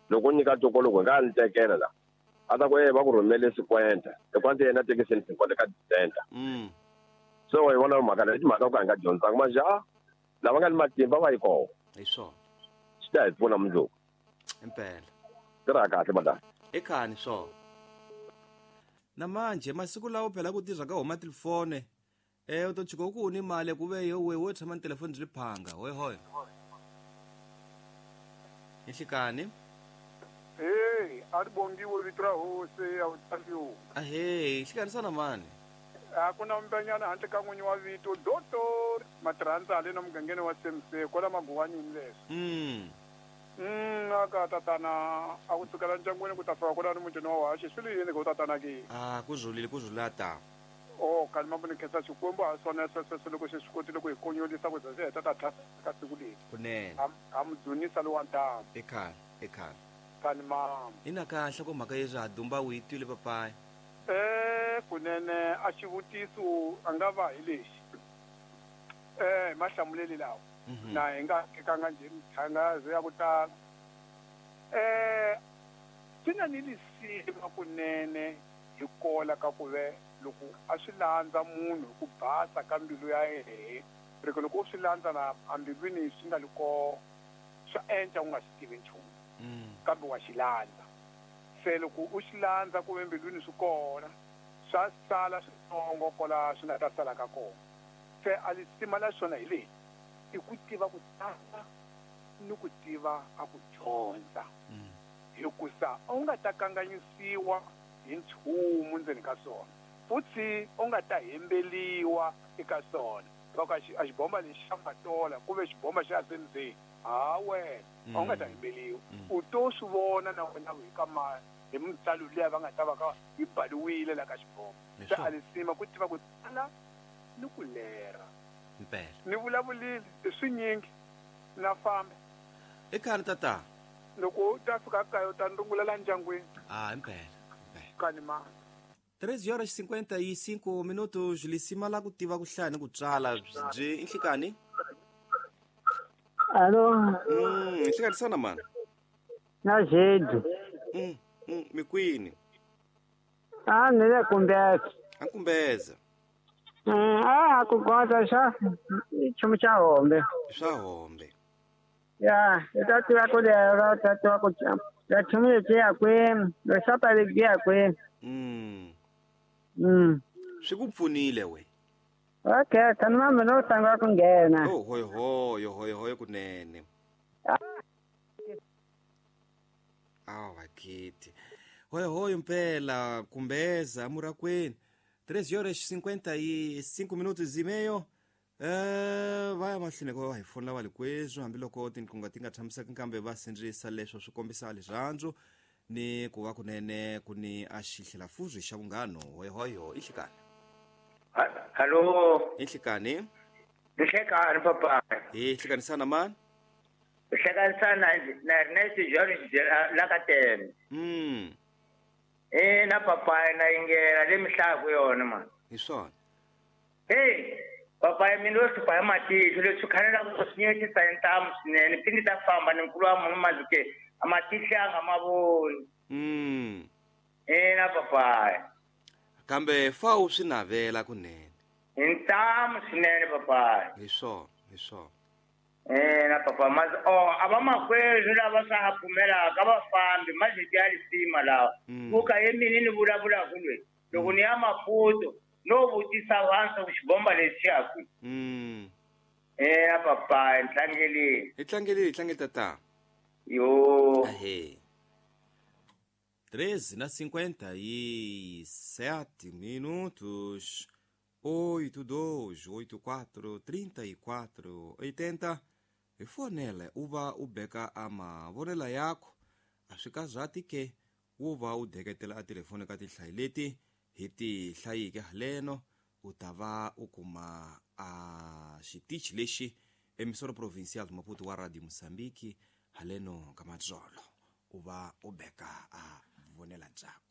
Loko u nyika tokologo nga ni tekela la. A ta ku va ku rhumele 50. Hi kwante yena tekiseni 50 ka center. So hi vona mhaka leyi timhaka ku hi nga dyondzanga manje a lava nga ni matimba va yi kona. Hi swona. Swi ta hi pfuna mundzuku. Impela. Tirha kahle madam. Ekhani swona. Na manje masiku lawo phela ku tirha ka homa telefone. U to tshika ku ni mali ku ve yo we wo tshama ni telefoni byi phanga hoy hoy. Nhlikani. Hey, a ri bongiwe vito ra hosi ya vutaliwa. Ahee, nhlikani sana mani. A ku na mbenyana handle ka n'winyi wa vito Doctor Matirhandzale na mugangeni wa CMC kwala Maguwanini leswi. Aka tatana a ku sukela ndyangwini ku ta fika kwalano mutini wa Washi swi li yini ku tatana ke? A ku zulile ku zulata. Oh, kalima ku ni khensa Xikwembu ha swona sweswo loko xi swi kotile ku hi konyolisa ku za xi heta ta tlhasa ka siku leri. Kunene. Ha mu dzunisa lowa ntamu. Ekhale, ekhale. Kani mama. Ina kahle ko mhaka yeswi ha dumba u yi twile papayi. Kunene a xivutiso a nga va hi lexi. Hi mahlamuleli lawa. Na hi nga tekanga nje mithangazo ya ku tala. Swi na ni lisima kunene hi kola ka ku ve loko a swi landza munhu hi ku basa ka mbilu ya yehe riko loko u swi landza na ambilwini swi nga li kona swa enca u nga swi tivi nchumu kambe wa xi landza. Se loko u xi landza ku ve mbilwini swi kona swa sala switsongo kola swi nga ta sala ka kona. Se a lisima la swona hi leyi i ku tiva ku tsala ni ku tiva a ku dyondza. Hikusa u nga ta kanganyisiwa hi nchumu ndzeni ka swona futhi u nga ta hembeliwa eka swona. Loko a xibomba lexi xa Matola ku ve xibomba xa SMZ, ha wena a wu nga ta hembeliwa. U to swi vona na wena hi ka hi mitsalo liya va nga ta va ka yi baliwile la ka xibomba. Se a lisima ku tiva ku tsala ni ku lera. Impela. Ni vulavulile i swinyingi na famba. Ekhani tata. Loko u ta fika kaya u ta ndungulela ndyangwini. Ah, impela. Kani mama. 3:55 minutos lisima la ku tiva ku hlaya ni ku tsala byi nhlikani. Alo. Nhlikani sana mani. Na Jedu. Mikwini. A ni le Kumbeza. A Kumbeza. A ku kota xa nchumu xa hombe. Swa hombe. Ya, i ta tiva ku lera, u ta tiva ku ya nchumu lexi ya kwini, lexapa lexi ya kwini. Swi ku pfunile we. Okay, kani mama no tanga ku nghena. Oh, hoy hoy hoy hoy kunene. Awa kiti. Hoy hoy mpela Kumbeza murakweni. 3:55. Va ya mahlweni ko hi fonela va likwezwi hambiloko tinqingho ti nga tshamiseki kambe va sindzisa leswo swi kombisa rirhandzu ni ku va kunene ku ni a xihlelafuzwi xa vunghano. Hoyohoyo i nhlikani. Hallo. I nhlikani. Nhlekani papa. Hi hlekanisana mani? Hlekanisana na Ernest George la ka tene. Na papa na yingela le mihlaku yona man. Hi swona. Hey, papa mina lo hlupha hi matihlo leswi khanela ku swi nyetisa hi ntamu swinene pindi ta famba ni nkulu wa munhu mazuke a matihlo ya nga ma voni. Na papa. Kambe fa u swi navela kunene. Hi ntamu swinene papa. Hi swona, hi swona. Na papa mas a va makwerhu lava swa ha pfumelaka va fambi maziti ya lisima lawa. Ku ka ye mina ni vulavulaka lweyi loko ni ya Maputo no vutisa vanhu ku xibomba lexi ya kwihi. Na papa hi tlangeleni. Hi tlangeleni, hi tlangele tata. Yo. Ahee. 13:57. 8 2 8 4 34 80. Hi fonele u va u beka a mavonelo yakho a swi kazati ke wu va u deketela a telefoni ka tinhlayo leti hi ti hlayike haleno u ta va u kuma a xitichi lexi emisoro provincial Maputo wa Radio Mozambique haleno ka matsolo u va u beka a vonela ndzhaku.